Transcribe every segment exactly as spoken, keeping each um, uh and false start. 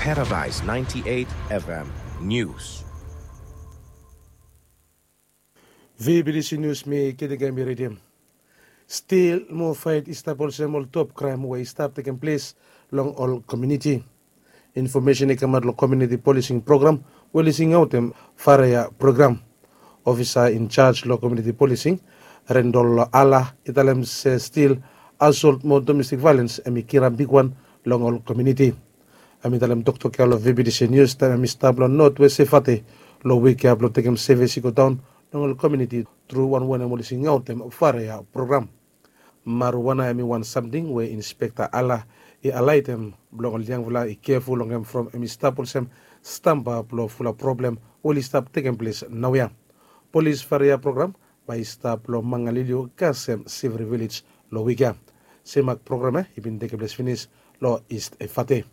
Paradise ninety-eight F M News. V B T C News, mi Ketika mi redim. Stil moa faet i stap olsem ol top kraem we i stap tekem ples long ol komuniti. Infomesen i kamaot long komuniti polising program we oli singaotem Faria program. Ofisa in charge long komuniti polising, Rendol Ala, i talem se stil asolt mo domestik vaelens hemi kirap bigwan long ol komuniti. Hemi talem toktok ya long V B T C News taem hemi stap long Northwest Efate long wik ya blong tekem sevis i godaon long ol komuniti tru wan wanem oli singaotem Faria program. Marijuana hemi wan samting we Inspekta Ala i alaetem blong ol yangfala i keful long hem from hemi stap olsem stamba blong fulap problem we oli stap tekem ples naoia. Polis Faria program bae i stap long Mangaliliu kasem Sivri Vilej long wik ya. Semak program ya i bin tekem ples finis long Ist Efate.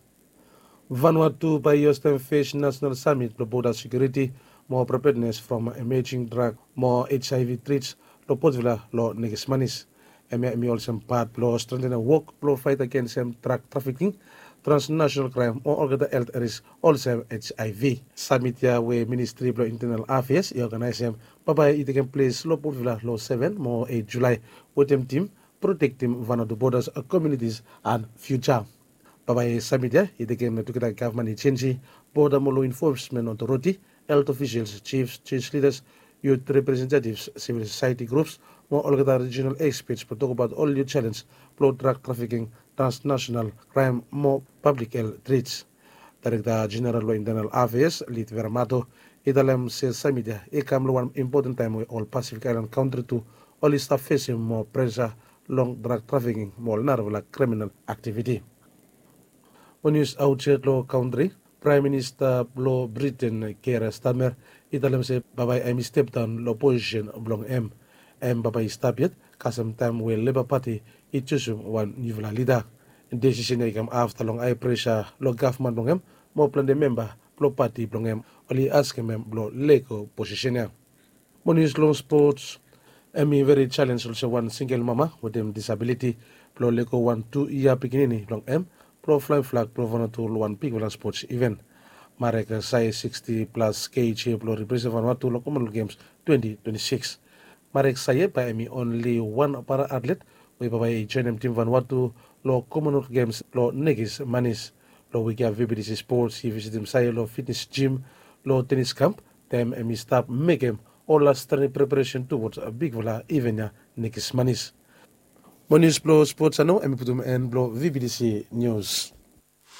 Vanuatu bae i hostem fes nasenal samit blong boda sekiuriti mo prepednes from emejing drag mo H I V trits long Port Vila long nekis manis. Hemia hemi olsem pat blong strentenem wok blong faet agensem drag trafiking, transnasenal kraem mo olgeta helt risk olsem H I V. Samit ya we Ministri blong Intenal Afeas i oganaesem bambae i tekem ples long Port Vila long seven mo eit Julae wetem tim Protektem Vanuatu Bodas, Komunitis and Fiuja. Bambae samit ya i tekem tugeta gavman i jenji, boda mo lo infosmen otoriti, helt ofisels, jifs, joj lidas, yut representativs, sivil sosaeti grups mo olgeta rijinal ekspets blong tokbaot ol niu jalens blong drag trafiking, transnasenal kraem mo pablik helt trits. Daerekta Jeneral blong Intenal Afeas, Lit Veramato, i talem se samit ya i kam long wan impoten taem we ol Pasifik Aelan kantri tu oli stap fesem moa presa long drag trafiking mo ol narafala kriminal aktiviti. Mo nius aotsaed long kantri, Praem Minista blong Briten, Keir Starmer, i talem se bambae hemi stepdaon long posisen blong hem. Hem bambae i stap yet kasem taem we Leba Pati i jusum wan niufala lida. Desisen ya i kam afta long hae presa long gavman blong hem mo plante memba blong pati blong hem oli askem hem blong lego posisen ya. Mo nius long spots, hemi veri jalens olsem wan singel mama wetem disabiliti blong lego wan tu yia pikinini blong hem blong flaem flag blong Vanuatu long wan bigfala spots iven. Marek Saye, sixty plus kg, blong represent Vanuatu long Commonwealth Games twenty twenty-six. Marek Saye bae hemi onli wan para atlet we bambae i joenem tim Vanuatu long Commonwealth Games long nekis manis. Long wik ya V B T C Sports i visitim Saye long fitnes jim long tenis kamp taem hemi stap mekem ol las trening preparesen tuwods bigfala iven ya nekis manis. Mo nius blong spots ya nao hemi putum en blong V B T C Nius.